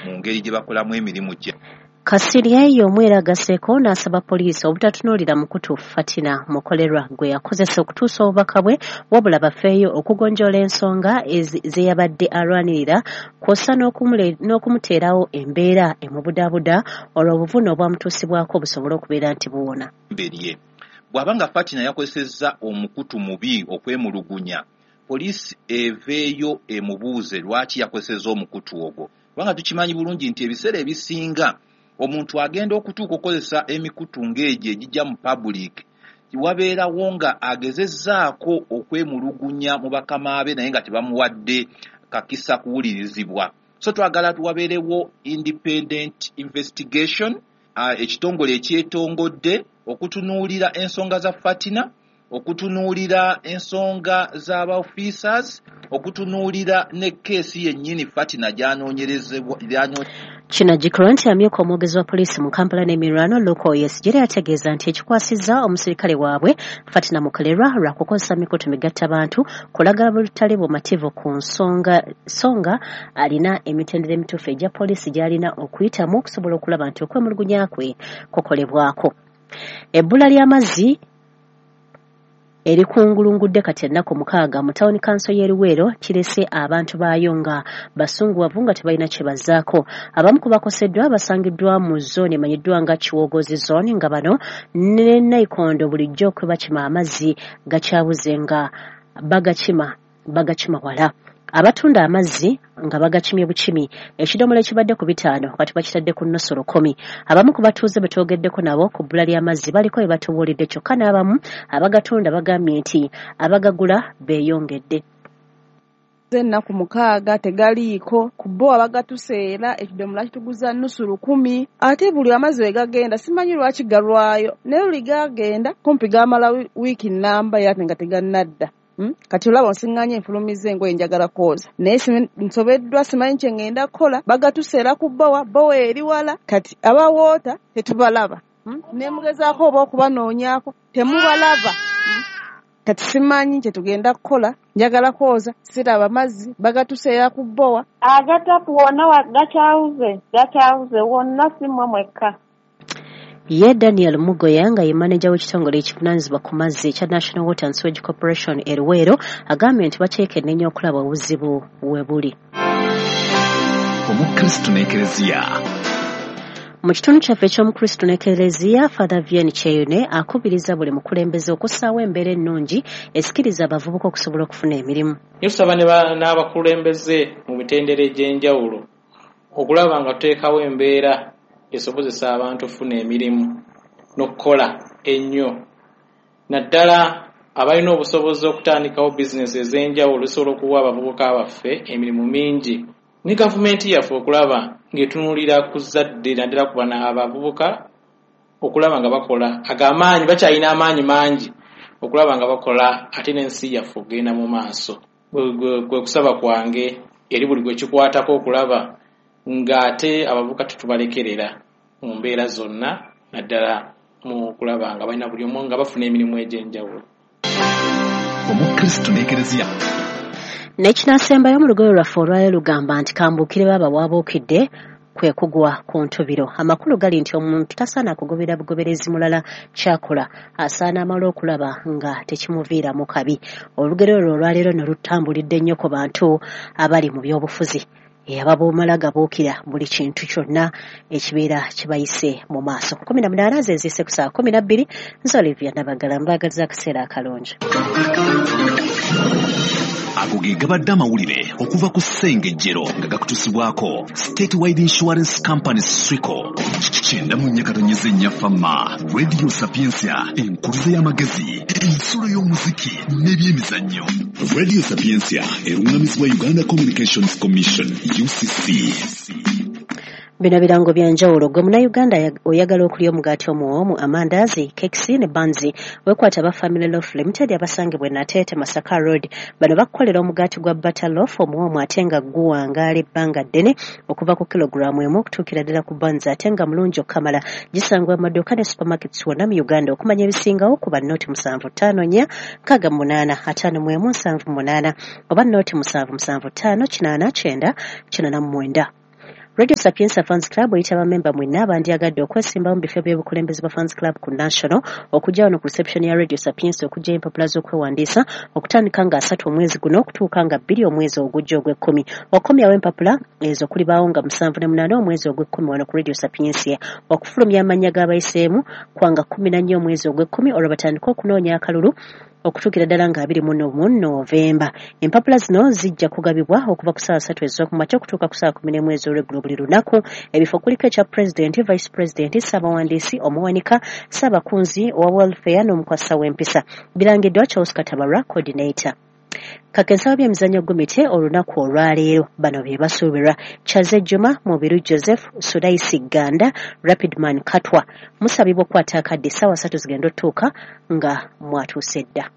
Mu ngeri gye bakolamu emirimu gye. Kasirye y'omu era agasseeko n'asaba poliisi obutatunuulira mukutu Fatina Mukolerwa gwe yakozesa okutuusa obubaka bwe, wabula bafeeyo okugonjoola ensonga ze yabadde alwanirira, kw'ossa n'okumuteerawo embeera emubudaabuda olwo obuvune obwamutuusibwako busobole okubeera nti buwona. Berye bw'aba nga Fatina yakozesezza omukutu mubi okwemulugunya, poliisi eveeyo emubuuze lwaki yakozesezza omukutu ogwo, kubanga tukimanyi bulungi nti ebiseera ebisinga omuntu agenda okutuuka okukozesa emikutu ng'egyo egijja mu public, wabeerawo nga agezezzaako okwemulugunya mu bakama be naye nga tebamuwadde kakisa kuwulirizibwa. So twagala wabeerewo independent investigation, ekitongole ekyetongodde okutunuulira ensonga za Fatina, okutunuulira ensonga z'aba officers, okutunuulira ne keesi yennyini Fatina gy'anoonyerezebwa. Kinajjukirwa nti amyuka omwogezi wa poliisi mu Kampala n'emiriraano Luke Oyesigire yategeeza nti ekikwasizza omusirikale waabwe Fatina Mukolerwa lwa kukozesa mikutu migattabantu kulaga butali bumativu ku nsonga, so nga alina emitendera emituufu egya poliisi gy'alina okuyitamu okusobola okulaba nti okwemulugunya kwe kukolebwako. Ebbula ly'amazzi erikungulungudde kati ennaku 6 mu tawuni kanso y'e Luweero kirese abantu baayo nga basunguwavu nga tebalina kye bazzaako. Abamu ku bakoseddwa basangiddwa mu zooni emanyiddwa nga Kiwogozi zone, nga bano ne Nayikondo bulijjo kwe bakima amazzi gakyabuze nga bagakima wala. Abatunda amazzi nga bagakimye bukimi, ekidomola ekibadde ku 5 kati bakitadde ku 0.5. Abamu ku batuuze be twogeddeko nabo ku bbula ly'amazzi baliko bye batubuulidde, kyokka n'abamu abagatunda bagambye nti abagagula beeyongedde. Ennaku 6 tegaliiko, ku bo abagatuseera ekidomola kituguza 0.5 ate buli amazzi we gagenda simanyi lwaki galwayo, naye luli gagenda kumpi gamala wiiki nnamba yate nga tegannadda. Kati olaba nsiŋŋaanye nfulumizza engoye njagala kwoza, naye nsobeddwa simanyi kye ŋŋenda kukola. Bagatuseera ku bbowa, bbowa eri wala, kati abawoota tetubalaba. Ne mugezaako oba okubanoonyaako temubalaba. Kati simanyi kye tugenda kukola, njagala kwoza siraba mazzi, bagatuseera ku bbowa. Agatapu wonna gakyawuze wonna, si mmwe mwekka. Ye Daniel Mugoya nga ye maneja w'ekitongole ekivunaanyizibwa ku mazzi ekya National Water and Sewage Corporation e Luweero agambye nti bakyekenneenya okulaba obuzibu we buli. Omukristu n'Ekereziya. Mu kitundu kyaffe eky'Omukristu n'Ekereziya, Father Vianney Kyeyune akubiriza buli mukulembeze okussaawo embeera ennungi esikiriza abavubuka okusobola okufuna emirimu. Tusaba n'abakulembeze mu mitendera egy'enjawulo okulaba nga tuteekawo embeera esobozesa abantu okufuna emirimu n'okukola ennyo, naddala abalina obusobozi okutandikawo bizinesi ez'enjawulo zisobola okuwa abavubuka baffe emirimu mingi, ne gavumenti yaffe okulaba ng'etunuulira ku zzadde naddala ku bano abavubuka okulaba nga bakola ag'amaanyi, bakyalina amaanyi mangi okulaba nga bakola ate n'ensi yaffe okugenda mu maaso. Kwe kusaba kwange eri buli gwe kikwatako okulaba ng'ate abavubuka tetubalekerera mu mbeera zonna, naddala mu kulaba nga balina buli omu nga bafuna emirimu egy'enjawulo. Omukristu n'Ekereziya. N'ekinaasembayo mu lugoye lwaffe olwaleero lugamba nti kambuukire baaba waabuukidde kwe kugwa ku ntubiro. Amakulu gali nti omuntu tasaana kugobera bugoberezi mulala kyakola, asaana amala okulaba nga tekimuviiramu kabi. Olugero olwo olwaleero nno lutambulidde nnyo ku bantu abali mu byobufuzi, ababumala gabuukira buli kintu kyonna ekibeera kibayise mu maaso. 18 ze ziyise ku ssaawa 12. Nze Olivia Nabagala, mbaagaliza akaseera akalungi. Ago ge gabadde amawulire okuva ku Ssengejjero nga gakutuusibwako Statewide Insurance Company Swico. 94.4 Fama Radio Sapientia, enkuluze y'amagezi, ensulo y'omuziki n'ebyemizannyo. Radio Sapientia eruŋŋamizibwa Uganda Communications Commission UCC. Bino birango bya njawulo. Gwe Munnayuganda oyagala okulya omugaati omuwoomu, amandaazi, kekisi ne banzi, weekwate aba Family Loaf Limited abasangibwa e Nateete Masaka Road. Bano bakukolera omugaati gwa butter loaf omuwoomu ate nga guwangaala ebbanga ddene okuva ku kilogulaamu 1 okutuukira ddala ku banzi ate nga mulungi okukamala. Gisangibwa mu maduuka ne supermarkets wonna mu Uganda. Okumanya ebisingawo kuba 075 4 68 51 78 oba 077 5 89 89. Radio Sapientia Fans Club eyita bamemba mwenna abandyagadde okwesimbawo mu bifo by'obukulembeze bwa Fans Club ku National okujja wano ku reception ya Radio Sapientia okuggyayo empapula z'okwewandiisa okutandika nga 3 omwezi guno okutuuka nga 2 omwezi ogujja ogw'ekkumi. Okukomyawo empapula ezo kulibaawo nga 7 omwezi ogw'ekkumi wano ku Radio Sapientia. Okufulumya amannya g'abayiseemu kwanga 14 omwezi ogw'ekkumi olwo batandike okunoonya akalulu okutuukira ddala nga 21 Novemba. Empapula zino zijja kugabibwa okuva ku ssaawa 3 ez'okumakya okutuuka ku ssaawa 11 ez'olweggulo buli lunaku. Ebifo kuliko ekya Pulezidenti, Vice Pulezidenti, Ssaabawandiisi, Omuwanika, Ssaabakunzi owa Welfare n'omukwasisa w'empisa. Birangiddwa Charles Katabarwa, Coordinator. Kakensa by'emizannyo gumite olunaku olwaleero bano bye basuubirwa: Chaze Juma, Mubiru Joseph, Sulaisi Ganda, Rapidman Katwa. Musabibwa okukwata akadde essaawa 3 zigenda otuuka nga mwatuuse dda.